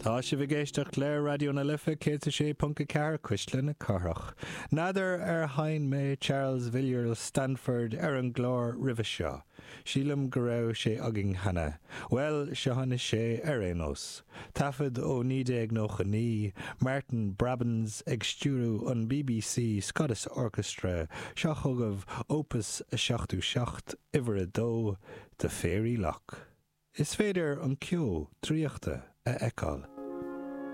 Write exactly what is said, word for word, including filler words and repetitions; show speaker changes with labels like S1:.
S1: Tá sibh ag éisteacht le Raidió na Life céad sé ponc a ceathair Cuisle na Cathrach. N'fheadar ar sheinn mé Charles Villiers Stanford ar an gclár roimhe seo. Sílim go raibh sé againn cheana. Well seo é ar aon nós. Taifead ó naoi déag nócha naoi, Martin Brabins ag stiúradh an BBC Scottish Orchestra seo chugaibh Opus a seachtó seacht uimhir a dó The Fairy Loch. Is féidir an ceo draíochta a fheiceáil.